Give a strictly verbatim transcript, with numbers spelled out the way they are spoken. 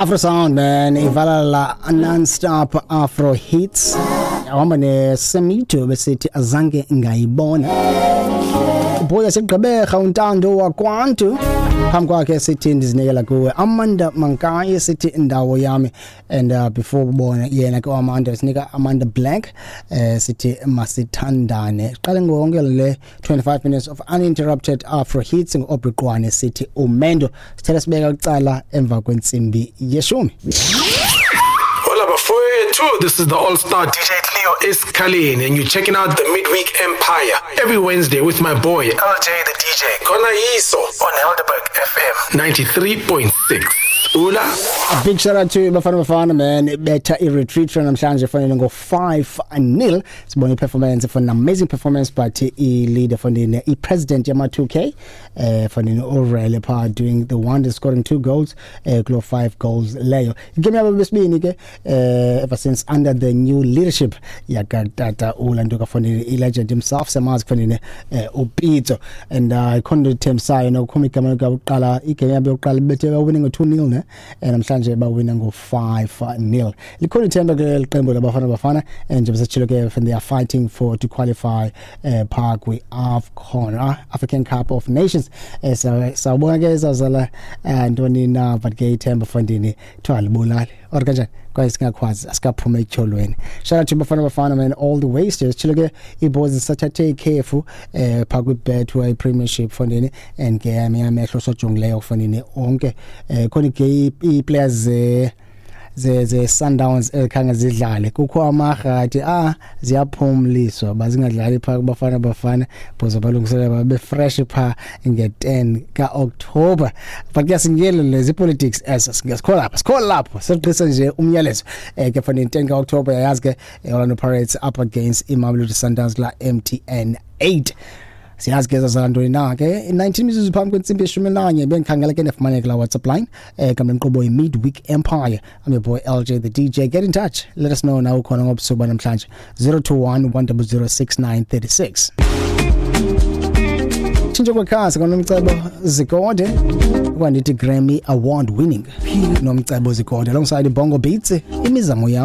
Afro Sound, man, ivala non-stop Afro hits. Ahamba nesemito besithi azange ngayibona. Boy yaseGqeberha, uNtando wakwantu, phambi kwakhe sithi ndizinikela kuwe. Amanda Mankayi sithi indawo yami. And uh, before ubona yena ke Amanda, sinika Amanda Black, eh sithi masithandane. Qale ngonke le twenty-five minutes of uninterrupted Afro hits ngo-Aubrey Qwane, sithi umendo. Sithele sibeka kucala emva kwentsimbi yeshumi. Hola bafowethu, this is the All-Star D J Cleo Escalin and you're checking out the Midweek Empire every Wednesday with my boy L J the D J Kona Yiso on Helderberg F M ninety-three point six. Ula. A big shout out to Bafana Bafana, man. Betha i-retreat for namhlanje fanele ngo five nil. Sibone performance for an amazing performance, but i-leader fanele i-president yama two K eh fanele Orele pa doing the wonder, scoring two goals eh kulo five goals leyo. Igame yabo besibini ke eh ever since under the new leadership yakatata ulanduka fanele i-legend himself, samazi fanele eh uPitso, and uh ikhona ithembisayo nokukhuma igama lokuqala. Igame yabo yokuqala bethe bawina ngo two nil ne, and namhlanje bawina ngo five nil. Likhona ithemba ke liqembu laBafana Bafana, and nje besitshilo ke they are fighting for to qualify uh, pha kwi AFCON, uh, African Cup of Nations. eh sawubona ke izazala ntoni na, but ke ithemba fondini thiwa libulali or kanjani kwaye singakwazi asikaphuma etyholweni. Shout out to Bafana Bafana, man, all the way. Sitshilo ke iboys zisathathe ikhefu eh pha kwi-Betway Premiership fondini, and ke amehlo sojongileyo fondini onke eh khona ke i-players ze ze ze Sundowns ekhange zidlale, kukho amahati ah ziyaphumliswa bazingadlali pha kuBafana Bafana bozo balungiselela babe fresh pha nge ten kaOctober. But ke singiyele lezi politics as singasikhola lapha, sikhola lapho siqisa nje umyalezo eh ke fanele ten kaOctober yazi ke Orlando Pirates up against iMamelodi Sundowns la M T N eight. Siyazi ke zazantoni na ke. nineteen mizuzu phambi kwentsimbi yeshumi nanye, bengikhangela ke nefumaneka la WhatsApp line eh kambe inkqubo yi-Midweek Empire. I'm your boy L J the D J. Get in touch, let us know na ukhona ngobusuku banamhlanje, zero two one one zero zero six nine three six. Tshintsho kwekhasi koNomcebo Zikode, kwandithi Grammy Award winning Nomcebo Zikode alongside Bongo Beats, imizamo yam.